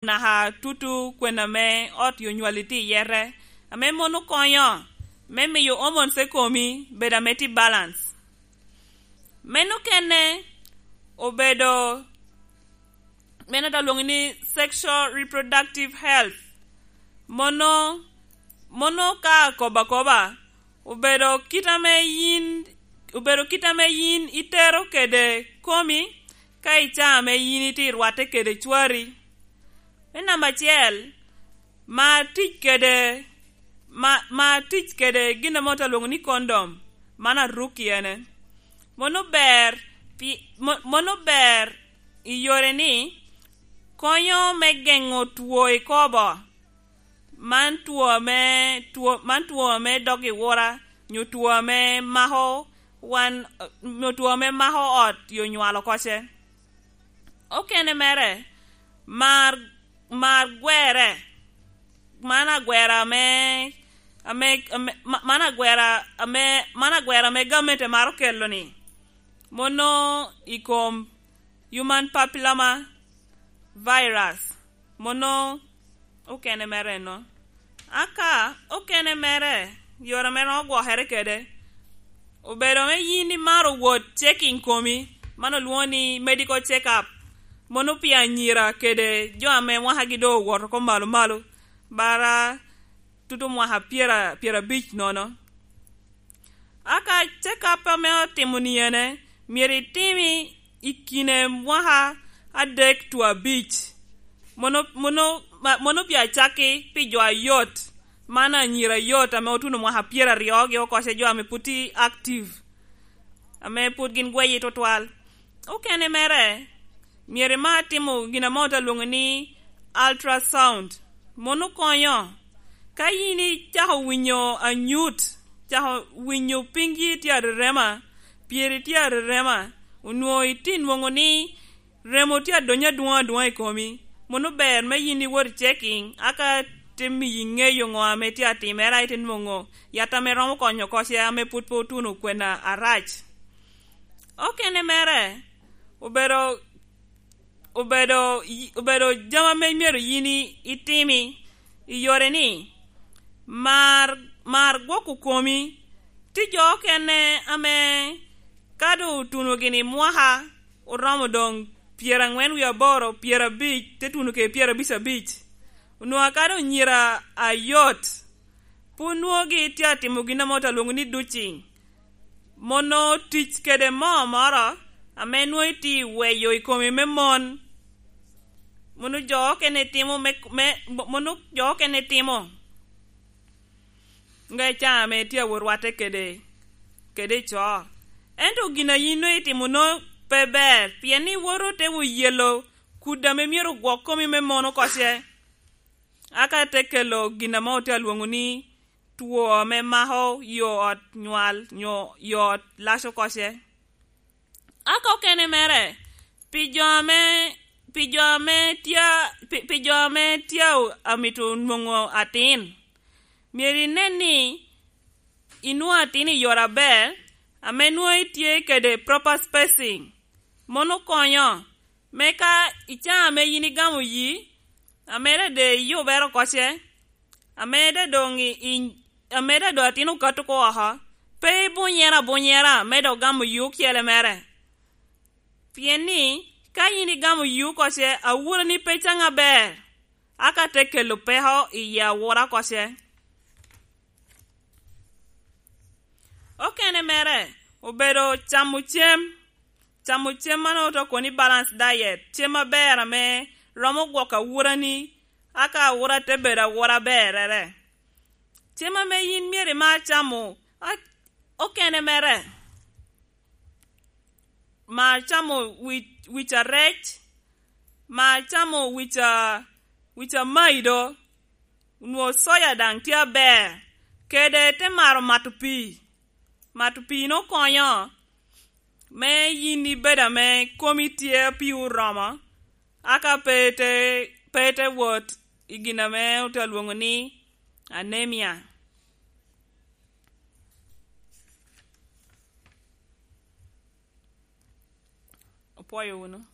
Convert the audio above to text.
Naka tutu kwena me ot yo nywali tye iyete ame mono konyo me miyo hormones e komi bedo ame tye balance. Meno kene obedo meno ta lwongo ni sexual reproductive health mono mono ka akobo akoba obedo kit ame in obedo kit ame in itero kede komi Ka i caa me in itye rwatte kede cwari, me namba acel, mar tic kede mar tic kede gin mo ta lwongo ni kondom man arukki ene. Mono ber mono ber i yore ni konyo me gengo two i kobo man two me man two me dog iwura nyo two me mako Wan nyo two me mako ot yo nywalo koce. Okene mere, mar mar gwere, man agwera me ame man agwera ame man agwera me gamente maro kelo ni mono i kom human papilloma virus mono okene mere eno. Aka okene mere yore ma iromo gwokere kwede obedo me in imaro wot checking komi ma nongo lwongo ni medical check up mono pi anyira kede jo ame mwakagi dong owoto ko malo malo bara tuto mwaka pyerabic nono. Aka check up ame otimo ni ene myero itimi I kine mwaka adek two abic, mono pi acakki pi jo ayot, man anyira ayot ame otuno mwaka pyeraryo gi okoce jo ame pud tye active ame pud gin gweye twatwal. Okene mere myero imar timo gin mo ta lwongo ni ultrasound mono konyo ka in icako winyo anyut cako winyo pingi tye arerema Pyeri tye arerema, onongo itye nongo ni remo tye adonyo adwong adwonga i komi, mono ber me in iwot i checking aka te miyi ngeyo ngo ame tye atimere aye ite nongo yat ame romo konyo koce ame pud pe otuno kwena arac. Okene mere obedo obedo obedo jami ame myero in itimi i yore ni mar mar gwoko komi. Tye jo okene ame ka dong otuno gini mwaka oromo dong pyerangwen wiye aboro, pyerabic te tuno kede pyerabic abic onongo akado onyira ayot pud nongo gitye atimo gin mo ta lwongo ni ducing Mono tic kede moo moro ame nwo itye weyo i komi me mon mono jo okene timo me mono jo okene timo nga ica ame itye awot rwate kede kede i coo ento gin aye nongo itimo nongo pe ber pien ni iwoto te wu yelo kudi ame myero ogwok komi me mon okoce aka te kelo gin ame watye ka lwongo ni two me mako yo ot nywal nyo yo ot laco koce. Aka okene mere, pi jo me pi jo me tye pi jo me tye amito nongo atin, myero inen ni inwongo atin i yore aber ame nongo itye kede proper spacing mono konyo me ka i caa me in igamo yii amede de iyubere koce Amedde dong i amedde dong atin okato ko woko, pe ibunyere abunyera me dok gamo yuu cele mere. Pien ni, ka in igamo yuu koce, awurani pe cang aber, aka te kelo peko i i awura koce. Okene mere obedo camo cem, camo cem ma nongo to koni balance diet, cem maber ame romo gwoko awurani Aka awura te bedo awura ber rere. Cem ame in myero imar camo okene mere, mar camo wic arec, mar camo wic amaido, onwo soya dang tye aber, kede te maro mato pii. Mato pii nongo konyo me in ibedo ame komi tye pii oromo. Aka pe te wot i gin ame otye ka lwongo ni anemia. Opwoyo wunu.